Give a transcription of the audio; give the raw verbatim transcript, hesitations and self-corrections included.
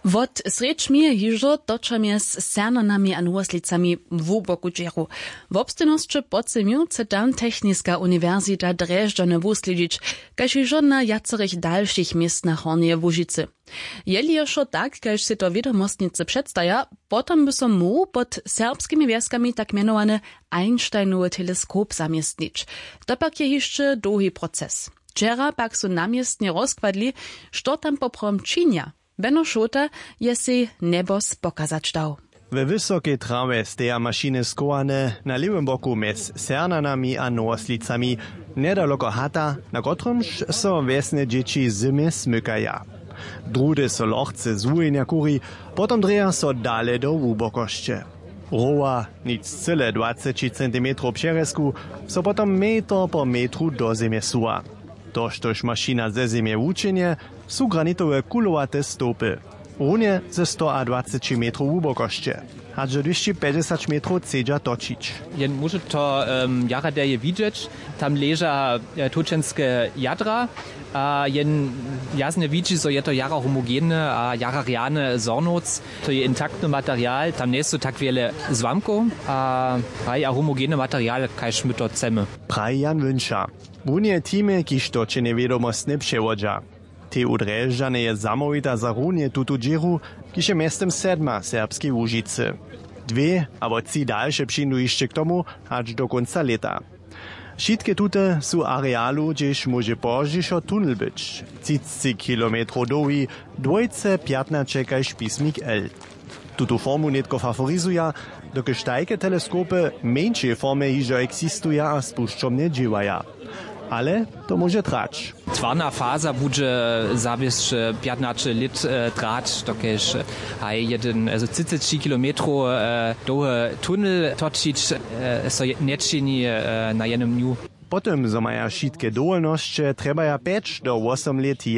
Wot srjedź mi hižo toča mjez Sernanami a Nowoslicami hłuboku dźěru. Wobstejnosće pocymił chce tam techniska uniwersita drježdźany wuslědźić, kaž hižo na wjacerych dalšich městnach Hornjeje Łužicy. Jeli je wšo tak, kaž sej to wědomostnicy předstaja, potom by so móhł pod serbskimi wjeskami tak mjenowany Einsteinowy teleskop zaměstnić. To pak je hišće dołhi proces. Wčera pak su na městnje rozkładli, što tam poprawom činja. Beno Šołta je sej njebos pokazać dał. We wysokej trawje steja mašiny schowane na lěwym boku mjez Sernanami a Nowoslicami, njedaloko hata, na kotrymž so wjesne dźěći zymje smykaja. Druhdy so lochce z wuhjenja kuri, potom drěja so dale do hłubokosće. Rowa, nic cyle dwaceći centimetrow přerjezku, so potom metr po metru do zemje suwa. To, štož mašina ze zemje wučenje, su granitowe kulowate stołpy. Runje ze stoadwaceći metrow hłubokosće, hač do dwěsći pjećdźesać metrow chcedźa točić. Jen móže to, em, jara derje widźeć. Tam leža, e, točenske jadra, a jen jasnje widźi, zo je to jara homogeny a jara rjany zhornowc. To je intaktny material, tam njejsu tak wjele złamkow, a haj, a homogeny material, kaž my to chcemy. Praji Jan Wünša. Runje teamy, kiž to činje wědomostnje přewodźa. Tej u Drježdźanje je zamołwita za runje tutu dźěru, kiž je mjeztym sedma w Serbskej Łužicy. Dwě abo tři dalše přińdu hišće k tomu, hač do kónca lěta. Wšitke tute su w arealu, hdźež móže pozdźišo tunel być, třicci kilometrow dołhi, dwójce pjatnaće kaž pismik L. Tutu formu nětko faforizuja, dokelž tajke teleskopy w mjeńšej formje hižo eksistuja a spušćomnje dźěłaja. Ale to móže trać. Twarna faza budźe zawěsć, e, pjatnaće lět, e, trać, dokelž, e, haj, jedyn, e, třiceći kilometrow, e, dołhy tunel točić, e, so je-, nječini, e, na jednym dnju. Po tym, zo maja wšitke dowolnosće, trjebaja pjeć do wosom lět jen